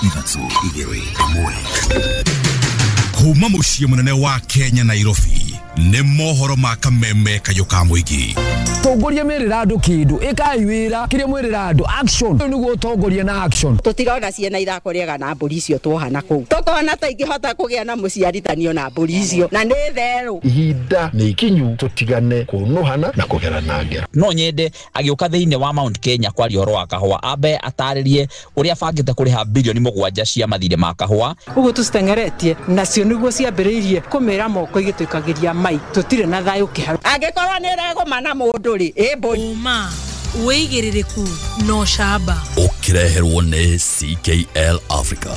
3 2 1. Kuma mũciĩ mũnene wa Kenya, Nairobi, nĩ mohoro ma kameme kayũ ka mũingĩ. Tongoria merĩra andũ kĩndũ, ĩkai wĩra kĩrĩa mwĩrĩra andũ, action. Ũyũ nĩguo ũtongoria na action. Tũtirona ciana ithako rĩega na mbũri icio tuoha na kũu, tũkona ta ingĩhota kũgĩa na mũciarithanio na mbũri icio na nĩ therũ. Ihinda nĩ ikinyu tũtigane kũnũhana na kũgerana ngero. No nyende agĩũka thĩinĩ wa Mount Kenya kwaria ũhoro wa kahũa, ambe atarĩrie ũrĩa abangĩte kũrĩha 7 bilioni cia mathirĩ ma kahũa. Ũguo tũciteng'eretie nacio nĩguo ciambĩrĩirie kũmĩra moko igĩtũikagĩria mai, tũtirĩ na thayũ kĩharo. Angĩkorwo nĩ ĩregũma na mũndũ rĩ, ĩ mbũri. Ũma, wĩigĩrĩrĩku na ũcamba. Ũkĩreherwo nĩ CKL Africa.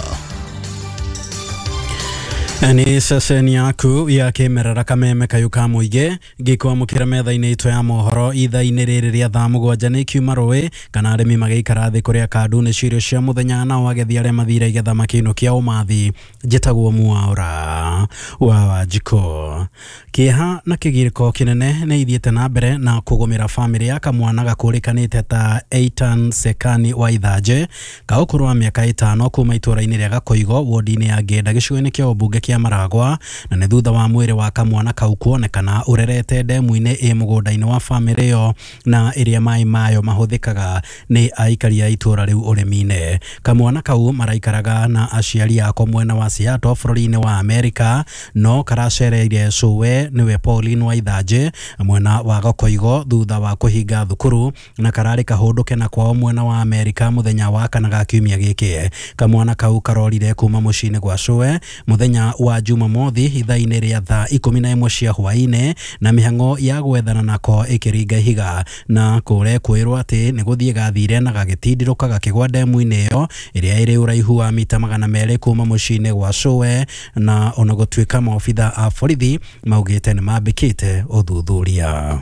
Nĩ ceceni yaku ya kĩmerera, kameme kayũ ka mũingĩ, ngĩkwamũkĩra metha-inĩ itũ ya mohoro ithaa-inĩ rĩrĩ rĩa thaa 7. Nĩ kiuma rũĩ kana arĩmi magĩikara thĩ kũrĩa kandu nĩ cirio cia mũthenya, nao agethi arĩa mathire igetha makĩinũkia ũmathi. Njĩtagwo Mwaũra wa Wanjikũ. Kĩeha na kĩgirĩko kĩnene nĩ ithiĩte na mbere na kũgũmĩra bamĩrĩ ya kamwana gakũrĩkanĩte ta Eitan Sekani wa Ithanjĩ, ka ũkũrũ wa mĩaka 5, kuma itũũra-inĩ rĩa Gakoigo, wodi-inĩ ya Ngenda, gĩcigo-inĩ kĩa ũmbunge kĩa Maragwa, na nĩ thutha wa mwĩrĩ wa kamwana kau kuonekana ũrerete ndemu-inĩ ĩ mũgũnda-inĩ wa bamĩrĩ ĩyo, na ĩrĩa maĩ mayo mahũthĩkaga nĩ aikari a itũũra rĩu ũrĩmi-inĩ. Kamwana kau maraikaraga na aciari ako mwena wa Seattle, bũrũri-inĩ wa Amerika, no karacereire cũwe, nĩwe Pauline wa Ithanjĩ, mwena wa Gakoigo thutha wa kũhinga thukuru, na kararĩ kahũndũke na kwao mwena wa Amerika mũthenya wa kana ga kiumia gĩkĩ. Kamwana kau karorire kuma mũciĩ-inĩ gwa cũwe mũthenya wa Jumamothi ithaa-inĩ rĩa thaa 11 cia hwaĩ-inĩ, na mĩhang'o ya gwethana nako ĩkĩringa ihiga, na kũre kwĩrwo atĩ nĩ gũthiĩ gathire na gagĩtindirũka gakĩgwa ndemu-inĩ ĩyo ĩrĩa ĩrĩ ũraihu wa mita 200 kuma mũciĩ-inĩ gwa cũwe, na ona gũtuĩka maobitha a borithi maugĩte nĩ mambĩkĩte ũthuthuria.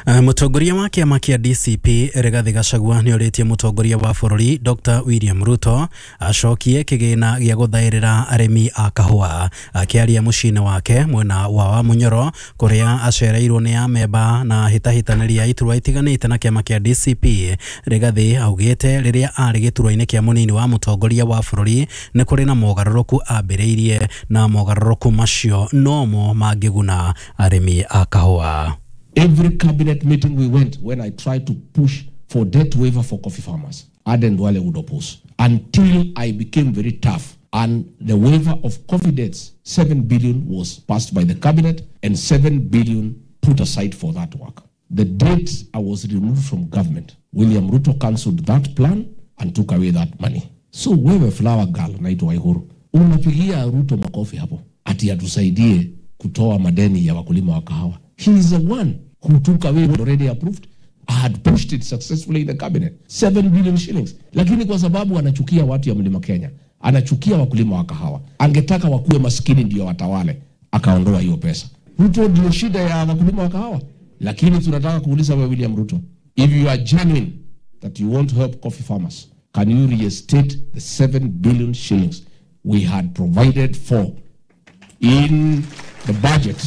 Mũtongoria wa kĩama kĩa DCP Rigathi Gachagua nĩ orĩtie mũtongoria wa bũrũri Dr William Ruto acokie kĩgĩna gĩa gũthaĩrĩra arĩmi a kahũa. Akĩaria mũciĩ-inĩ wake mwena wa Wamunyoro, kũrĩa acereirwo nĩ amemba na hĩtahĩtanĩri a iturwa itiganĩte na kĩama kĩa DCP, Rigathi augĩte rĩrĩa arĩ gĩturwa-inĩ kĩa mũnini wa mũtongoria wa bũrũri nĩ kũrĩ na mogarũrũku ambĩrĩirie, na mogarũrũku macio nomo mangĩguna arĩmi a kahũa. Every cabinet meeting we went, when I tried to push for debt waiver for coffee farmers, Aden Duale would oppose. Until I became very tough. And the waiver of coffee debts, 7 billion was passed by the cabinet and 7 billion put aside for that work. The date I was removed from government, William Ruto cancelled that plan and took away that money. So wewe flower girl naitwa Waiguru, unapigia Ruto makofi hapo ati atusaidie kutoa madeni ya wakulima wa kahawa. He is the one who took away what already approved. I had pushed it successfully in the cabinet. 7 billion shillings. Lakini kwa sababu anachukia watu ya Mlima Kenya, anachukia wakulima wa kahawa, angetaka wakuwe maskini ndio watawale, akaondoa hiyo pesa. Ruto ndio shida ya wakulima wa kahawa. Lakini tunataka kuuliza wewe William Ruto, if you are genuine that you want to help coffee farmers, can you reinstate the 7 billion shillings we had provided for in the budget?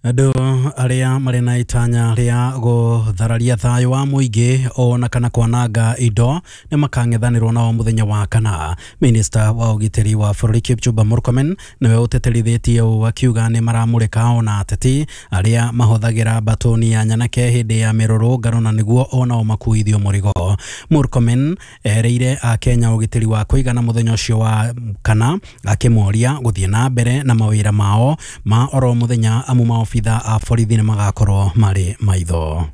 Andũ arĩa marĩ na itanya rĩa gũthararia thayũ wa mũingĩ ona kana kwananga indo nĩ makang'ethanĩrwo nao mũthenya wa kana. Minista wa ũgitĩri wa bũrũri Kipchumba Murkomen nĩwe ũtĩtĩrithĩtie ũũ, akiuga nĩ maramũrĩka ona ateti arĩa mahũthagĩra mbatũni ya nyanake hĩndĩ ya mĩrũrũngano, na nĩguo onao makuithio mũrigo. Murkomen erĩire akenya ũgitĩri wa kũigana mũthenya ũcio wa kana, akĩmoria gũthiĩ na mbere na mawĩra mao ma oro mũthenya, amu maobitha a borithi nĩ magakorwo marĩ maitho.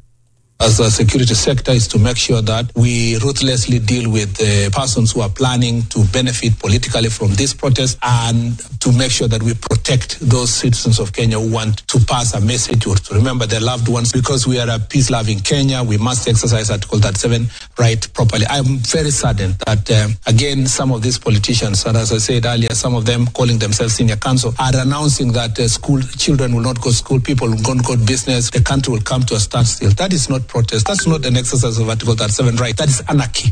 As a security sector is to make sure that we ruthlessly deal with the persons who are planning to benefit politically from this protest and to make sure that we protect those citizens of Kenya who want to pass a message or to remember their loved ones. Because we are a peace-loving Kenya, we must exercise Article 37 right properly. I'm very saddened that, again, some of these politicians, and as I said earlier, some of them calling themselves senior counsel, are announcing that school children will not go to school, people will not go to business, the country will come to a standstill. That is not protest. That's not an exercise of Article 37 right. That is anarchy.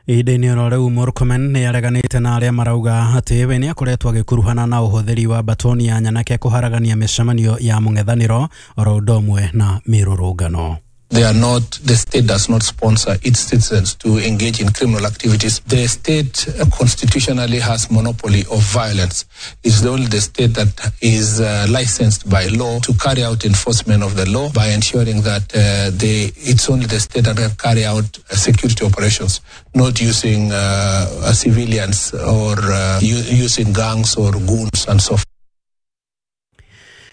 Ihinda-inĩ oro rĩu, Murkomen nĩ areganĩte na arĩa marauga atĩ we nĩ akoretwo agĩkuruhana na ũhũthĩri wa batoni ya nyanake kũharagania mĩcemanio ya mũng'ethanĩro oro ũndũ ũmwe na mĩrũrũngano. They are not, the state does not sponsor its citizens to engage in criminal activities. The state constitutionally has monopoly of violence. It's only the state that is licensed by law to carry out enforcement of the law by ensuring that it's only the state that can carry out security operations, not using civilians or using gangs or goons and so forth.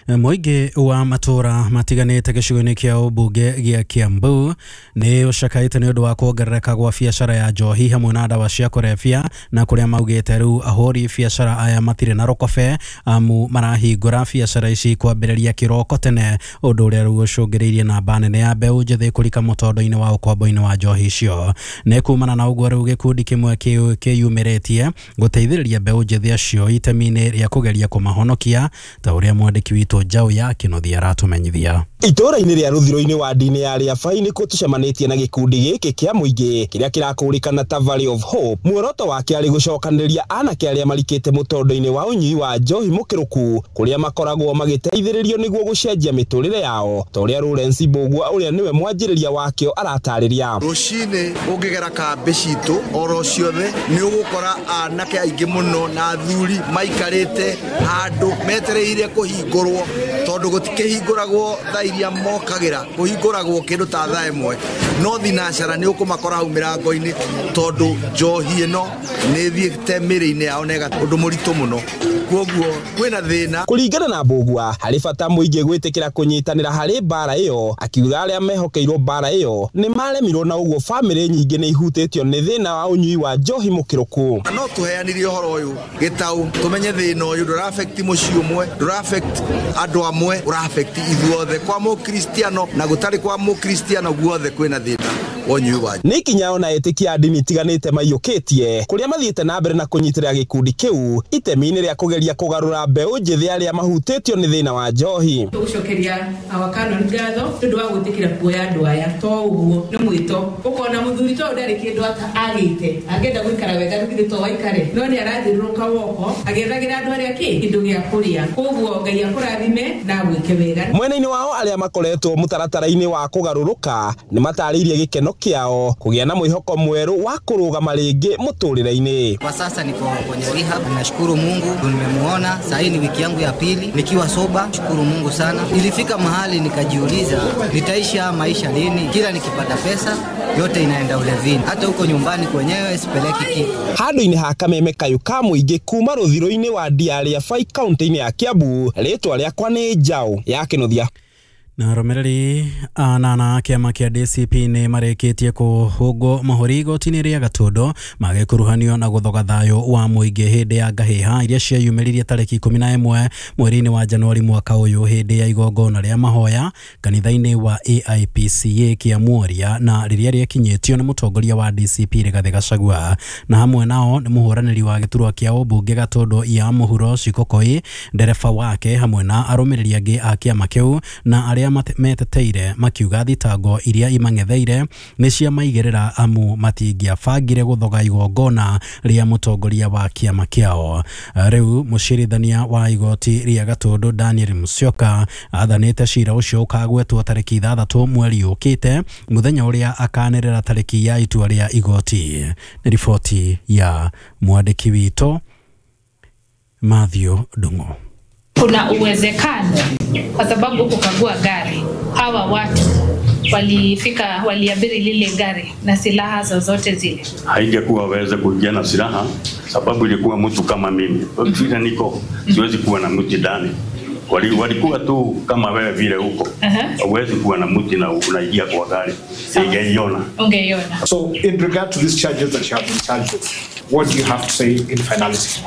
Mũingĩ wa matũra matiganĩte gĩcigo-inĩ kĩa ũmbunge gĩa Kiambu nĩ ũcakaĩte nĩ ũndũ wa kuongerereka gwa biacara ya njohi hamwe na ndawa cia kũrebia, na kũrĩa maugĩte rĩu ahũri biacara aya matirĩ na rũkobe amu marahingũra biacara ici kwambĩrĩria kĩroko tene, ũndũ ũrĩa rĩu ũcũngĩrĩirie namba nene ya mbeũ njĩthĩ kũrika mũtondo-inĩ wa ũkombo-inĩ wa njohi icio. Nĩ kumana na ũguo rĩu gĩkundi kĩmwe kĩyumĩrĩtie gũteithĩrĩria mbeũ njĩthĩ acio itemi-inĩ rĩa kũgeria kũmahonokia, ta ũrĩa mwandĩki witũ Njaũ ya Kĩnuthia aratumenyithia. Itũra-inĩ rĩa rũthiro-inĩ wa ndini ya Rĩabai nĩkuo tũcemanĩtie na gĩkundi gĩkĩ kĩa mũingĩ kĩrĩa kĩrakũrĩkana ta Valley of Hope. Muoroto wake arĩ gũcokanĩrĩria anake arĩa marikĩte mũtondo-inĩ wa ũnyui wa njohi mũkĩrũku, kũrĩa makoragwo magĩteithĩrĩrio nĩguo gũcenjia mĩtũrĩre yao, ta ũrĩa Lawrence Mbũgua ũrĩa nĩwe mwanjĩrĩria wakĩo aratarĩria. Rũcinĩ ũngĩgera kambĩ citũ oro ciothe nĩ ũgũkora anake aingĩ mũno na athuri maikarĩte handũ metereire kũhingũrwo, tondũ gũtikĩhingũragwo thaa iria mokagĩra, kũhingũragwo kĩndũ ta thaa ĩmwe, no thinacara nĩ ũkũmakora hau mĩrango-inĩ, tondũ njohi ĩno nĩ ĩthiĩte mĩrĩ-inĩ yao na ũndũ mũritũ mũno, kwoguo kwĩna thĩna. Kũringana na Mbũgua, harĩ bata mũingĩ gwĩtĩkĩra kũnyitanĩra harĩ mbara ĩyo, akiuga arĩa mehokeirwo mbara ĩyo nĩ maremirwo, na ũguo bamĩrĩ nyingĩ nĩ ihutĩtio nĩ thĩna wa ũnyui wa njohi mũkĩrũku. No tũheanire ũhoro ũyũ gĩtaũ tũmenye thĩna ũyũ ndũra affect mũciĩ ũmwe, ndũra affect andũ amwe, ũra affect ithuothe, kwa mũkristiano na gũtarĩ kwa mũkristiano guothe kwĩna thĩna wa ũnyui wa. Nĩ ikinya ona etĩkia a ndini itiganĩte maiyũkĩtie, kũrĩa mathiĩte na mbere na kũnyitĩrĩra gĩkundi kĩu itemi-inĩ rĩa kũgeria kũgarũra mbeũ njĩthĩ arĩa mahutĩtio nĩ thĩna wa njohi. Tũgũcokeria awakano ngatho nĩ ũndũ wa gwĩtĩkĩra kuoya andũ aya, to ũguo nĩ mwĩto ũkona mũthuri to ndarĩ kĩndũ agĩte angĩenda gũikara wega githĩ to waikare, no nĩ arathiũrũrũka woko agĩethagĩra andũ arĩa kĩndũ gĩa kũrĩa, koguo Ngai akũrathime na agwĩke wega. Mwena-inĩ wao arĩa makoretwo mũtaratara-inĩ wa kũgarũrũka nĩ matarĩirie gĩkeno kĩao kũgĩa na mwĩhoko mwerũ wa kũrũgama rĩngĩ mũtũrĩre-inĩ. Kwa sasa niko kwenye rehab, nashukuru Mungu nimemuona. Sasa hii ni wiki yangu ya pili nikiwa soba, shukuru Mungu sana. Ilifika mahali nikajiuliza nitaishi haya maisha lini? Kila nikipata pesa yote inaenda ulevini, hata huko nyumbani kwenyewe sipeleki kitu. Handũ-inĩ ha kameme kayũ ka mũingĩ kuma rũthiro-inĩ wa Ndiarĩabai kaunti-inĩ ya Kiambu, rĩtwa rĩakwa nĩ Njaũ ya Kĩnuthia. Na arũmĩrĩri anana a kĩama kĩa DCP nĩ marĩkĩtie kũhũngwo mahũri igoti-inĩ rĩa Gatũndũ magĩkuruhanio na gũthoga thayũ wa mũingĩ hĩndĩ ya ngahĩha iria cieyumĩririe tarĩki 11 mweri-inĩ wa Januari mwaka ũyũ hĩndĩ ya igongona rĩa mahoya kanitha-inĩ wa AIPCA Kĩamuoria, na rĩrĩa rĩakinyĩtio nĩ mũtongoria wa DCP Rigathĩ Gachagua, na hamwe nao nĩ mũhũranĩri wa gĩturwa kĩa ũmbunge Gatũndũ ya mũhuro Cikokoi, ndereba wake hamwe na arũmĩrĩri angĩ a kĩama kĩu na arĩa meteteire makiuga thitango iria imang'etheire nĩ cia maigĩrĩra amu matingĩabangire gũthoga igongona rĩa mũtongoria wa kĩama kĩao. Rĩu mũcirithania wa igoti rĩa Gatũndũ Daniel Musyoka athanĩte cira ũcio ũkagwetwo tarĩki 6 mweri ũkĩte, mũthenya ũrĩa akanĩrĩra tarĩki ya itua rĩa igoti. Nĩ riboti ya mwandĩki witũ Matthew Ndung'u. Kuna uwezekano kwa sababu kukagua gari, hawa watu walifika, waliabiri lile gari na silaha zozote zile. Haingekuwa waweze kuingia na silaha sababu ilikuwa mtu kama mimi. Vile niko siwezi kuwa na mtu ndani. Walikuwa tu kama wewe vile huko. Huwezi kuwa na mtu na unaingia kwa gari. Ungeiona. Ungeiona. So in regard to these charges that you have been charged with, what do you have to say in finality?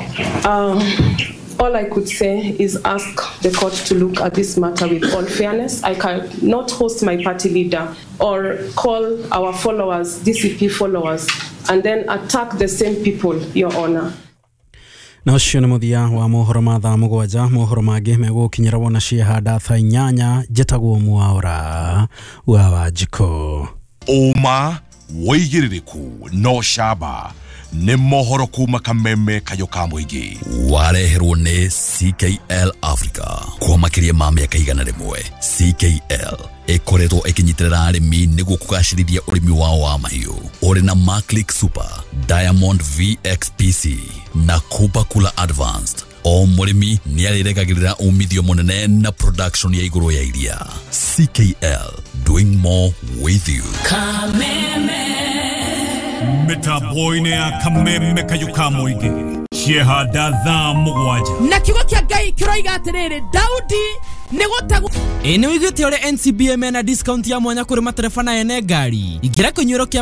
All I could say is ask the court to look at this matter with all fairness. I cannot host my party leader or call our followers, DCP followers, and then attack the same people, Your Honor. Na ũcio nĩ mũthia wa mohoro ma thaa 7. Mohoro mangĩ megũkinyĩra wona ciehanda thaa 8. Njĩtagwo Mwaũra wa Wanjikũ. Ũma wĩigĩrĩrĩku no camba Nĩ mohoro kuma kameme kayũ ka mũingĩ. Wareherwo nĩ CKL Africa. Kwa makĩria ma mĩaka 100, CKL ĩkoretwo ĩkĩnyitĩrĩra arĩmi nĩguo kũgacĩrithia ũrĩmi wao wa mahiũ. Ũrĩ na Maclick Super, Diamond VXPC na Cooper Cooler Advanced. O mũrĩmi nĩ arĩregagĩrĩra umithio mũnene na production ya igũrũ ya iria. CKL, doing more with you. Mĩtambo-inĩ ya kameme kayũ ka mũingĩ ciehanda thaa 7. Na kiugo kĩa Ngai kĩroiga atĩrĩrĩ, Daudi nĩ gũtegwo. Ĩ nĩ wĩiguĩte ũrĩa NCBA mena discount ya mwanya kũrĩ matereba na ene ngari? Ingĩra kĩnyuĩro kĩa